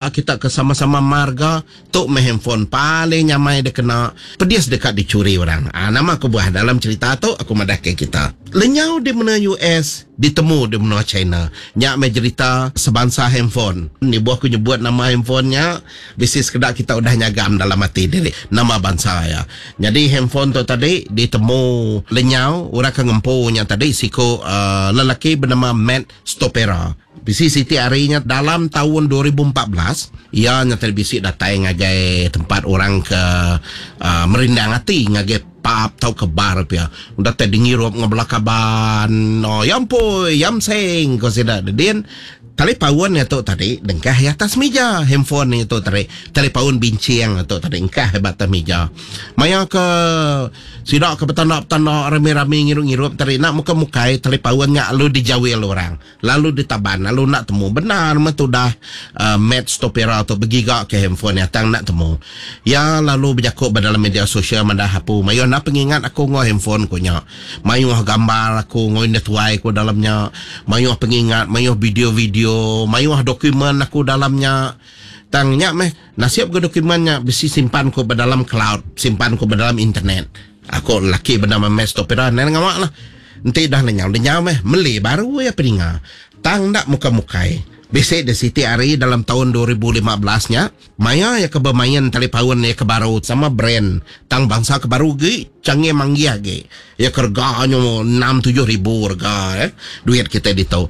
Kita ke sama-sama marga tu meh handphone paling nyamai dikena pedis deka dichuri orang. Aa nama kebuah dalam cherita tu aku madah ke kita. Lenyau di menua US ditemu di menua China. Nya meh jerita sebansa handphone. Nibuh aku nyebut nama handphone nya bisi sekeda kita udah nyagam dalam ati diri nama bansa iya. Nyadi handphone tu tadi ditemu lenyau orang ke ngempu nya tadi siku aaa lelaki benama Matt Stopera. Bisi siti hari nya dalam taun 2014, iya nya tadi bisi datai ngagai tempat orang ke aaa merindang ati ngagai pub tauka bar pia. Udah tai dingirup enggau bala kaban. Oh ya ampui, yam seng ko sida dedin. Talipaun iya tu tadi dengkah iya atas mija handphone iya tu tadi. Talipaun binching iya tu tadi engkah iya ba atas mija. Maya ke sida ke betanda-betanda rami-rami ngirup-ngirup tadi enda mukai-mukai talipaun nya lalu dijawil orang. Lalu ditaban lalu enda temu bendar meh tudah Matt Stopera tu begiga ke handphone iya tang enda temu. Iya lalu bejaku ba dalam media sosial madah apu mayuh enda pengingat aku enggau handphone ku nya. Mayuh gambar aku enggau indah tuai ku dalam nya, mayuh pengingat, mayuh video-video, mayuh dokumen aku dalam nya. Tang nya meh nasib ga dokumen nya bisi simpan ku ba dalam cloud, simpan ku ba dalam internet. Aku lelaki benama Matt Stopera endang ngawa lah. Enti dah lenyau lenyau meh meli baru iya peninga. Tang enda mukai-mukai. Bisi deh siti hari dalam taun 2015 nya, maya iya ke bemain talipaun iya ke baru sama brand tang bansa ke baru agi canggih manggih agi. Iya ke rega nyu enam tujuh ribu rega eh duit kitai ditu.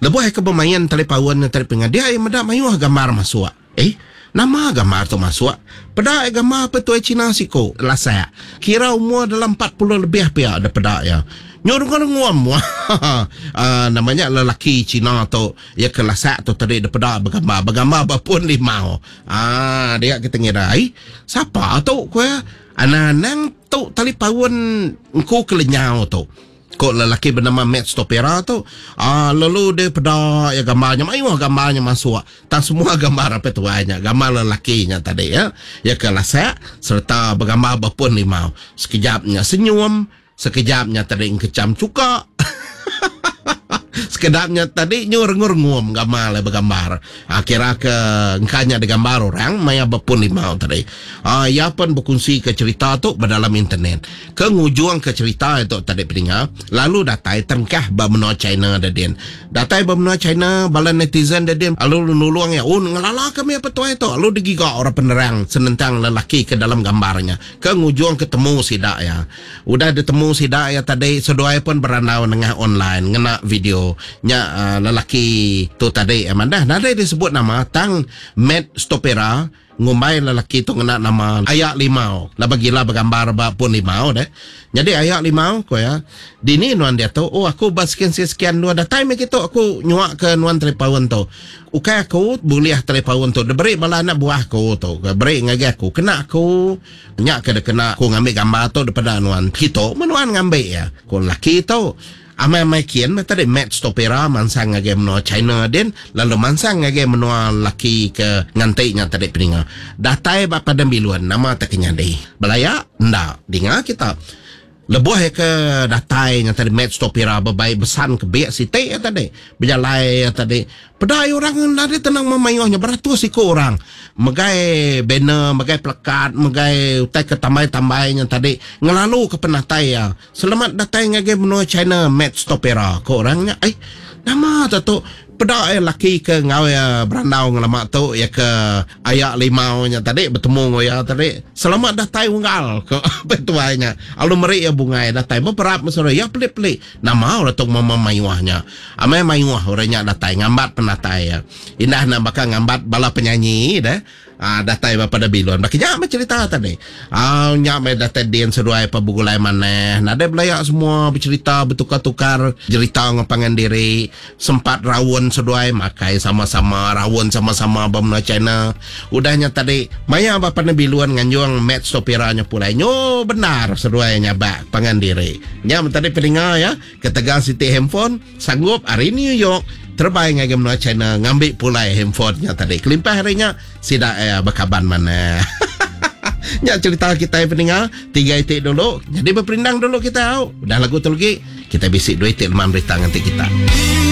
Lebuh iya ke bemain talipaun nya tadi peninga dia iya meda mayuh gambar masuk. Eh, nama gambar tu masuk? Peda iya gambar petuai Cina siku, lasak. Kira umur dalam 40 lebih pia da peda iya. Nyu rengung-rengung mua aaa nama nya lelaki Cina tu iya ke lasak tu tadi da peda begambar. Begambar ba pun limau. Aaa dia kita ngira ai sapa tu ku iya. Anang-anang tu talipaun engku ke lenyau tu. Ko lelaki benama Matt Stopera tu, aaa lalu deh peda iya gambar nya mayuh gambar nya masuk. Tang semua gambar apai tuai nya gambar lelaki nya tadi ya. Iya ke lasak sereta begambar ba pun limau. Sekejap nya senyum, sekejap nya tadi engkecham chuka. Sekeda nya tadi nyu rengung-rengum gamal iya begambar. Aaa kira ke engka nya digambar orang maya ba pun limau tadi. Aaa iya pen bekunsi ke cherita tu ba dalam internet. Ke ngujungka cherita itu tadi peninga, lalu datai terengkah ba menua China dedin. Datai ba menua China, bala netizen dedin lalu nulung iya, Un ngelala kami apai tuai tu lalu digiga orang penerang senentang lelaki ke dalam gambar nya. Ke ngujungka temu sida iya. Udah ditemu sida iya tadi, seduai pun berandau nengah online ngena video. Nya lelaki tu tadi madah nadai disebut nama tang Matt Stopera Ngumbai lelaki tu ngena nama Aya Limau laban gila begambar ba pun limau deh. Nyadi Aya Limau ku iya, Dini nuan diatu? Oh aku ba sekian-sekian endur datai meh kitu aku nyuaka nuan talipaun tu. Ukai aku bulih talipaun tu diberi bala anak buah aku tu ke beri ngagai aku kena aku nya ke dikena aku ngambi gambar tu daripada nuan kitu meh nuan ngambi iya, ku lelaki tu. Amai-amai kin meh tadi Matt Stopera mansang ngagai menua China din lalu mansang ngagai menua lelaki ke nganti nya tadi peninga. Datai ba Padang Bilun nama tak ke nyadi? Belaya? Enda. Dinga kita. Lebuh iya ke datai nya tadi Matt Stopera bebai besan ke bik siti iya tadi. Bejalai iya tadi. Peda iya orang nadai tenang memayuh nya beratus iku orang megai banner, megai pelekat, megai utai ke tambai-tambai nya tadi ngelaluka penatai iya. Selamat datai ngagai menua China Matt Stopera, ko orang nya. Ai, nama te tu? Peda iya laki ke enggau iya berandau ngelama tu iya ke aya limau nya tadi betemu enggau iya tadi. Selamat datai unggal, ko apai tuai nya. Lalu meri iya bungai datai beberap mesura iya pelik-pelik. Nama orang tu mema mayuh nya. Amai mayuh orang nya datai ngambat penatai iya. Indah ne baka ngambat bala penyanyi deh. Aa datai ba pada bilun. Baka nya meh cerita tadi. Aa nya meh datai din seduai pa begulai manah. Nadai belaya semua becerita betukar-tukar jerita enggau pangan diri. Sempat raun seduai makai sama-sama, raun sama-sama ba menua China. Udah nya tadi maya ba pana bilun nganjung Matt Stopera nya pulai nyu bendar seduai nyabak pangan diri. Nya meh tadi peninga iya ketegal siti handphone. Sanggup ari New York terebai ngagai menua China ngambi pulai handphone nya tadi. Kelimpah ari nya, sida iya bekaban manah. Nya cherita kitai peninga tiga iti dulu. Nyadi beperindang dulu kitai au. Udah lagu tu legi, kitai bisi dua iti leman berita nganti kita.